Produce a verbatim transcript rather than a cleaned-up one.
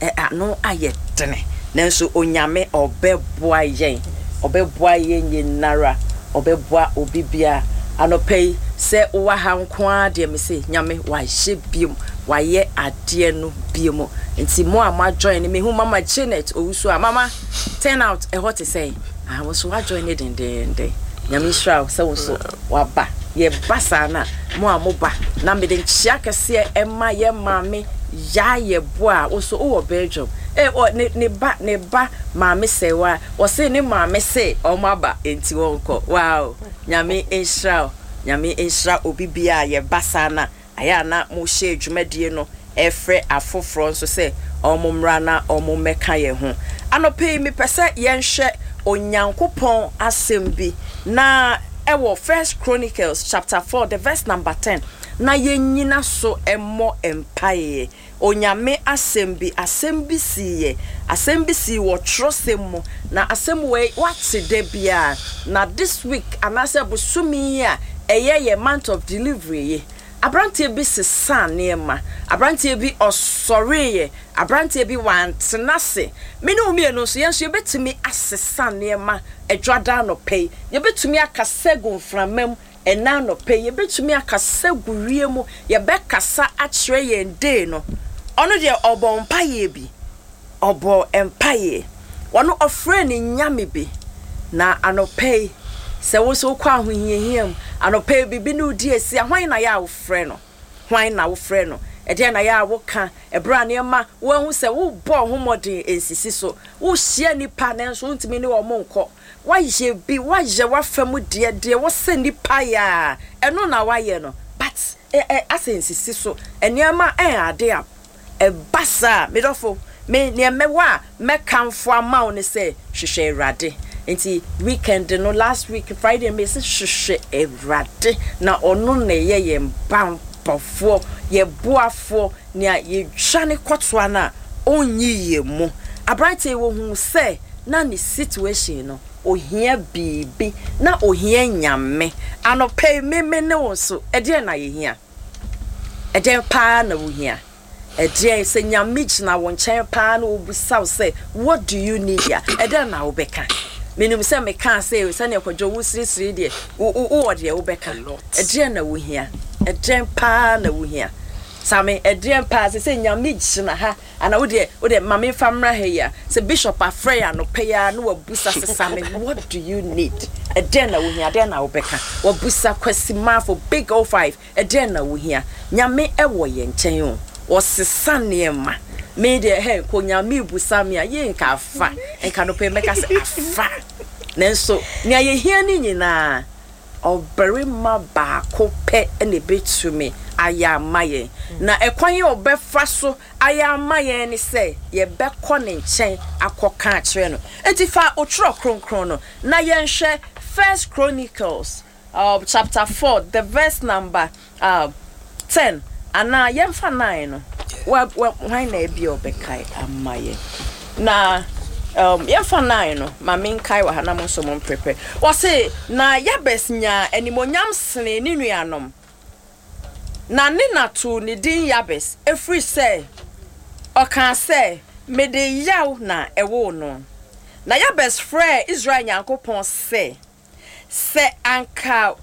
Ɛ ano ayɛ dene, nanso Onyame ɔbɛboa yɛn, ɔbɛboa yɛn nyinara, ɔbɛboa obi bia. Anɔpɛ yi, sɛ wowɔ ha nko ara deɛ, me se Nyame wayɛ biom, wayɛ adeɛ no biom. Nti mo a mo ajoin no, mehu Mama Janet Owusu a mama turn out ɛhɔ te sɛ ah, wo nso woajoin ne dendenden. Nyame nhyira wo sɛ wo nso waba. Yɛba saa na mo a moba na mede nkyea kɛseɛ ɛma yɛ maame yaa yɛ boa a wo nso wowɔ Belgium. Eh, ɔ, ne, ne ba ne ba maame sɛwa, wɔse ne maame se ɔmo aba nti wɔnkɔ. Wow, Nyame nhyira wo, Nyame nhyira obi bia a yɛba saa na ayɛ a na mohyɛ dwumadie no, ɛfrɛ afoforɔ nso sɛ ɔmo mmra na ɔmo mmɛka yɛn ho. Anɔpɛ yi, mepɛ sɛ yɛnhwɛ Onyankopɔn asɛm bi na ɛwɔ First Chronicles chapter four, the verse number ten, na yɛnyina so ɛmmɔ mpaeɛ. Onyame asɛm bi, asɛm bi siiɛ, asɛm bi sii wɔ twerɛsɛm mu, na asɛm wei wate da biara. Na this week anaasɛ bosome yi a ɛyɛ yɛ month of delivery yi, aberanteɛ bi sesa nneɛma, aberanteɛ bi ɔsɔreeɛ, aberanteɛ bi wantena ase. Me ne wo mmienu nso, yɛn nso yɛbɛtumi asesa nneɛma. Adwada anɔpɛ yi, yɛbɛtumi akasa gu mframa mu. Ɛna anɔpɛ yi, yɛbɛtumi akasa gu wie mu, yɛbɛkasa akyerɛ yɛn day no. Ɔno deɛ, ɔbɔ mpaeɛ bi, ɔbɔ mpaeɛ, ɔno ɔfrɛ ne Nyame bi. Na anɔpɛ yi, sɛ wo nso wokɔ ahohiahia mu anɔpɛ yi, biribi ne wodi asi a, hwan na yɛ a wofrɛ no? Hwan na wofrɛ no? Ɛdeɛn na yɛ a woka ɛberɛ a nneɛma woahu sɛ wobɔ ho mmɔden nsisi so, wohyia nnipa nanso wontumi ne wɔn nkɔ, woayɛ bi, woayɛ w'afa mu deɛ deɛ wɔsɛ nnipa yɛ a, ɛno na woayɛ no, but ɛ ɛ asɛ nsisi so, nneɛma ɛn ade a ɛba saa? Medɔfo, me nea mɛwɔ a mɛkamfo ama wo ne sɛ hwehwɛ Awurade. Nti weekend no, last week Friday, me sɛ hwehwɛ Awurade, na ɔno na ɛyɛ yɛn banbɔfoɔ, yɛ boafoɔ, nea yɛdwane kɔtoa no a ɔnyi yɛn mu. Aberanteɛ yi, wɔhu sɛ na ne situation no, ohia biribi na ohia Nyame. Anɔpɛ yi, meme ne wo nso, ɛdeɛn na yɛhia? Ɛdeɛn paa na wohia? Ɛdeɛn? Sɛ Nyame gyina wo nkyɛn paa na wɔbusa wo sɛ, "What do you need?" a, ɛdeɛn na wobɛka? Menim sɛ mekaa sɛ sɛneɛ Kwadwo wo sirisiri deɛ, wowɔ deɛ wobɛka. Ɛdeɛn na wohia? Ɛdeɛn paa na wohia, Same? Ɛdeɛn paa sɛ sɛ Nyame gyina ha ana wodeɛ wodeɛ ma memfa mmra ha yi a, sɛ Bishop afrɛ yɛ anɔpɛ yi a na wabusa sɛ, "Same, what do you need? Ɛdeɛn na wohia?" Ɛdeɛn na wobɛka? Wabusa Kwasi Mafo Big O five, ɛdeɛn na wohia? Nyame ɛwɔ yɛn nkyɛn o, ɔsesa nneɛma. Me deɛ, hɛ kɔ Nyame busa me a, yɛ nka afa nka no pɛ, mɛka sɛ afa. Nanso nea yɛhia ne nyinaa, ɔbarima baako pɛ na ebɛtumi ayɛ ama yɛn, na ɛkwan yi a ɔbɛfa so ayɛ ama yɛn ne sɛ yɛbɛkɔ ne nkyɛn akɔka akyerɛ no. Nti fa otwerɛ kronkron no na yɛnhwɛ First Chronicles uh, chapter four, the verse number uh, ten, anaa yɛmfa nine no. Wa wa hwan na ebi a ɔbɛkae ama yɛn? Na um, yɛmfa nine no ma menkae wɔ ha na mo nso mo mprepare. Wɔse na Yabes nyaa animonyam sene ne nuanom, na ne na too ne din Yabes, ɛfiri sɛ ɔkaa sɛ, "Mede yaw na ɛwoo no." Na Yabes frɛɛ Israel Nyankopɔn sɛ, "Sɛ anka